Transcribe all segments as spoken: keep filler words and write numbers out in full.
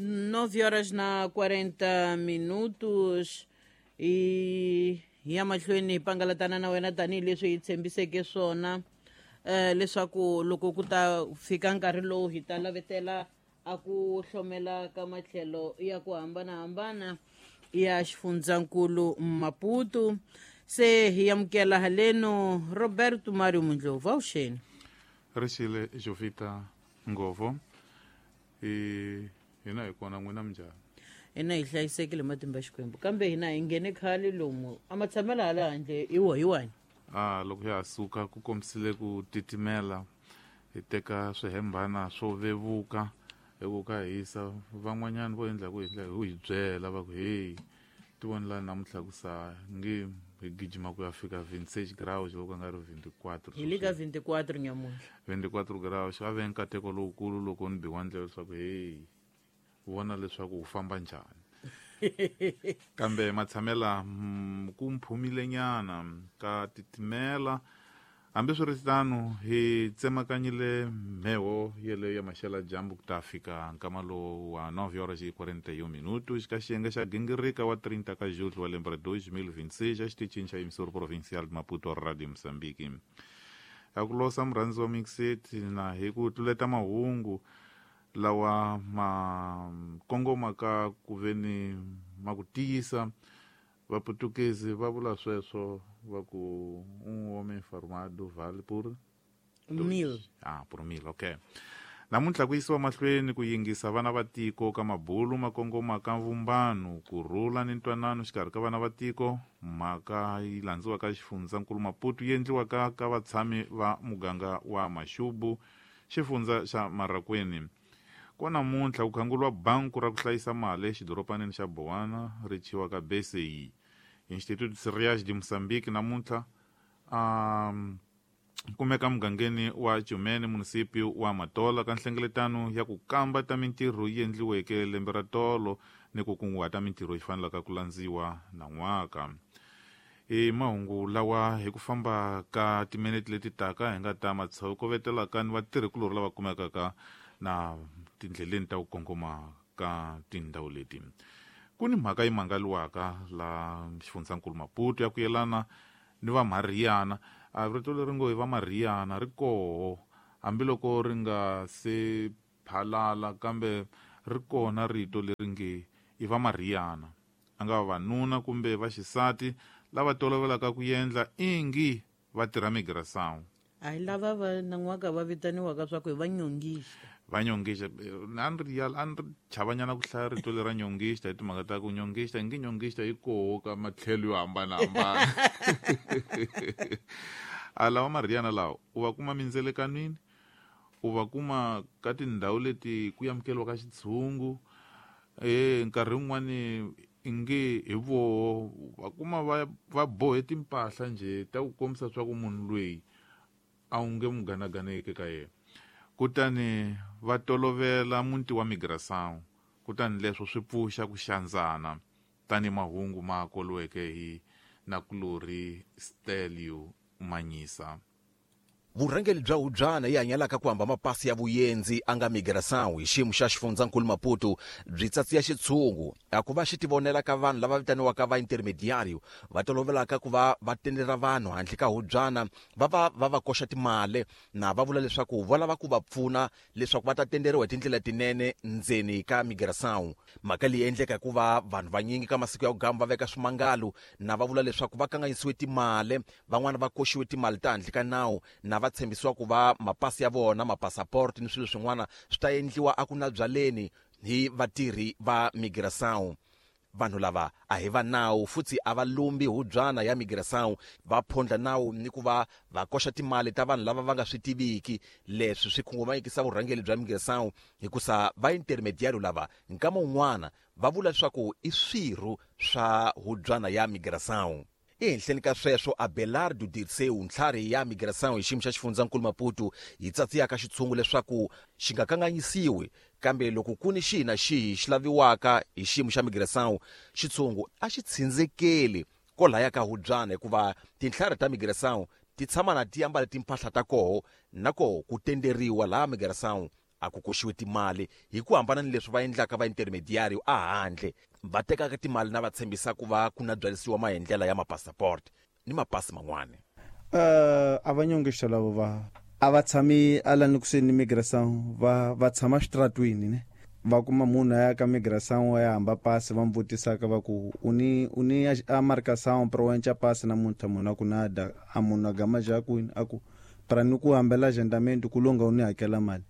Nove horas na quarenta minutos i ya mahlweni hi pangalatana na wena tanihileswi hi tshembiseke swona eh leswaku loko ku ta fika nkarhi lowu hi ta lavetela a ku hlomela ka matlhelo ya ku hambanahambana ya xifundzankulu Maputo. Se hi amukela haleno Roberto Mario Mundlovu, avuxeni. Rixile Jovita Ngovo, hi hina hi kona, n'wina minjhani? Hina hi hlayisekile matimba ya Xikwembu, kambe hina hi nghene khale lomu a matshamelo hala handle i wo hi wani. A loko ya ha suka ku kombisile ku titimela, hi teka swihembana swo vevuka hi ku ka hisa. Van'wanyana vo endla ku hi hi byela va ku hey, ti voni la namuntlha ku sa nge hi gijima ku ya fika vingt-seis graus loko nga ri vingt-quatre. Hi le ka vingt-quatre nyamuntlha. vingt-quatre graus a ve nkateko lowukulu loko ni biwa ndlela leswaku hey, vona leswaku u famba njhani. Kambe matshamela ku mphumile nyana ka titimela. Hambiswiritano hi tsemakanyile mheho yeleyo ya maxela dyambu ku ta fika nkama lowu wa nove horas e quarenta e um minutos ka xiyenge xa gingirika wa trinta ka julho wa lembe ra dois mil vinte e seis exitichini xa emissora provincial de Maputo, Radio Moçambique. A ku losa murhandzi wa Mixit na hi ku tluleta mahungu lawa ma kongoma ka ku veni ma ku tiyisa. Vaputukezi va vula sweswo va ku un homem formado vale por mil. Ah, por mil, okay. Namuntlha ku yisiwa mahlweni ku yingisa vana va tiko ka mabulu ma kongoma ka vumbano, ku rhula ni ntwanano xikarhi ka vana va tiko. Mhaka yi landziwa ka xifundzankulu Maputo yi endliwa ka ka vatshami va muganga wa Maxubu, xifundza xa Marakweni. Kwa namuntlha ku khanguriwa banku ra ku hlayisa mali exidoropanini xa Bowana ri thyiwa ka B C I. Instituto Cereais de Moçambique namuntlha um kumeka mugangeni wa Chumene, munisipio wa Matola, ka nhlengeletano ya ku kamba ta mintirho yi endliweke lembe ra tolo ni ku kunguhata mintirho yi fanelaka ku landziwa nan'waka. I mahungu lawa hi ku famba ka timinete leti taka hi nga ta matshokovetelaka ni vatirhikulorhi lava kumekaka na tindleleni ta ku kongoma ka tindhawu leti. Ku ni mhaka yi mangaliwaka la xifundzankulu Maputo ya ku yelana ni va Mariana. A rito leri ngo hi va Mariana ri koho hambiloko ri nga se phalala, kambe ri kona rito leri nge i va Mariana. A nga vavanuna kumbe vaxisati lava tolovelaka ku endla ingi va tirha migração. A hi lava va nan'waka va vitaniwaka swa ku hi va nyongisa. Va nyongisa. A ni ri a ni ri chavanyana ku hlaya rito lera nyongisa hi timhaka ta ku nyongisa ngi nyongisa yi koho ka matlhelo yo hambanahambana. A lava Mariana lawa u va kuma mindzelekanwini, u va kuma ka tindhawu leti ku amukeriwa ka xitshungu, eh nkarhi wun'wani inge hi voho va kuma va va bohe timpahla njhe ta ku kombisa swa ku munhu loyi a wu nge n'wi ganaganeki ka yena. Kutani va tolovela muti wa migração, kutani leswo swi pfuxa ku xandzana tani mahungu ma koliweke hi nakulorhi Stelio Manyisa. Vurhangeri bya Hubyana yi hanyalaka ku hamba mapasi ya vuyenzi a nga migração hi xiyimo xa xifundzankulu Maputo byi tsatsiya xitshungu a ku va xi tivonela ka vanhu lava vitaniwaka va intermediario va tolovelaka ku va va tendera vanhu handle ka Hubyana va va va va koxa timali na va vula leswaku va lava ku va pfuna leswaku va ta tenderiwa hi tindlela tinene ndzeni ka migração. Mhaka leyi endleka hikuva vanhu vanyingi ka masiku ya ku gamba va veka swimangalo na va vula leswaku va kanganyisiwe timali, van'wana va koxiwe timali ta handle ka nawu na va tshembisiwa ku va mapasi ya vona, mapasaport ni swilo swin'wana swi ta endliwa a ku na byaleni hi vatirhi va migração. Vanhu lava a hi va nawu futhi a va lumbi hubyana ya migração, va phondla nawu ni ku va va koxa timali ta vanhu lava va nga swi tiviki. Leswi swi khunguvanyekisa vurhangeri bya migração hikusa va intermediario lava nkama wun'wana va vula leswaku i swirho swa hubyana ya migração. Ehenhleni ka sweswo, Abelardo Dirceu, ntlhari ya migração hi xiyimo xa xifundzankulu Maputo, yi tsatsiyaka xitshungu leswaku xi nga kanganyisiwi, kambe loko ku ni xihi na xihi xi laviwaka hi xiyimo xa migração, xitshungu a xi tshindzekeli kolaya ka Hubyana hikuva tintlhari ta migração ti tshama na ti ambala timpahla ta koho na koho ku tenderiwa laha migração A ku koxiwe timali hi ku hambana ni leswi va endlaka va intermediary a handle va tekaka timali na va tshembisa ku va ku na byalisiwa maendlela ya mapassport ni mapasi man'wana. Uh, a va nyongexo lavo va a va tshami alani kusuhi ni migração va va tshama xitratwini ne va kuma munhu a ya ka migração wa ya hamba pasi va mu vutisaka va ku u ni u ni a marcação pra u enca pasi namuntlha munhu a ku nada a munhu a gama ja kwini a ku pra ni ku hambela agendamento ku longa u ni hakela mali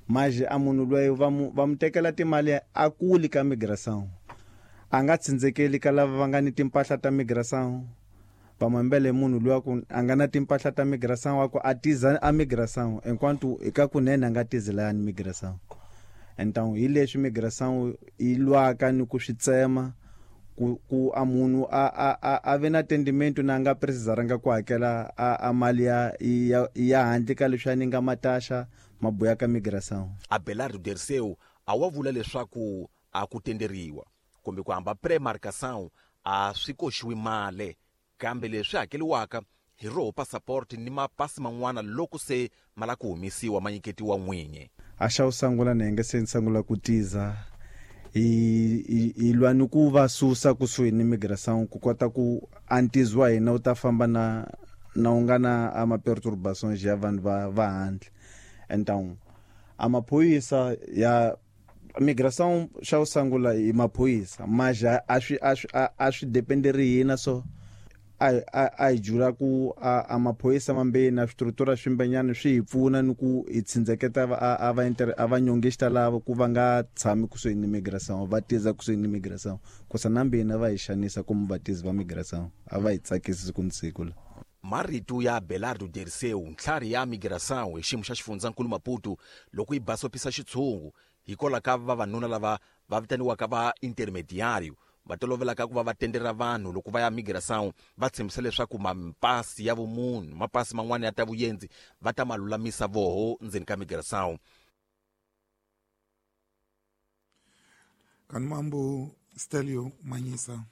maje a munhu loyi va mu va mu tekela timali a kuli ka migração a nga tsindzekeli ka lava va nga ni timpahla ta migração va mu hambele munhu luya ku a nga na timpahla ta migração a ku a tiza a migração enquanto eka kunene a nga tizi layani migração. Então hi leswi migração yi lwaka ni ku swi tsema ku ku a munhu a a a ve na tendimento na nga precisaranga ku hakela a, a mali ya ya, ya handle ka leswi a ni nga mataxa mabuya ka migração. Abelardo Dirceu a wa vula leswaku a ku tenderiwa kumbe ku hamba pre-marcação a swi koxiwi mali kambe leswi hakeliwaka hi roho passport ni mapasi man'wana loko se ma la ku humesiwa ma nyiketiwa n'winyi. A xa u sungula na nge se ni sungula ku tiza hi hi lwa ni ku va susa kusuhi ni migração ku kota ku antizi wa hina wu ta famba na na wu nga na a ma perturbações ya vanhu va va handle. Então a maphorisa ya migração xa u sungula hi maphorisa mas a swi a swi a swi dependeri hina so a a a hi jula ku a, a maphorisa mambeni na swistrutura swimbenyana swi hi pfuna ni ku hi tsindzeketa a a va inter a va nyongexta lava ku va nga tshami kusuhi ni migração va tiza kusuhi ni migração kusa nambeni va hi xanisa kumbe vatizi va migração a va hi tsakisi siku ni siku la. Marito ya Abelardo Dirceu ntlhari ya migração hi xiyimo xa xifundzankulu Maputo loko yi basopisa xitshungu hikwalaho ka vavanuna lava va vitaniwaka va intermediario va tolovelaka ku va va tendera vanhu loko va ya migração va tshembisa leswaku mapasi ya vumunhu mapasi man'wana ya ta vuyenzi va ta ma lulamisa voho ndzeni ka migração. Kanmambo Stelio Manyisa.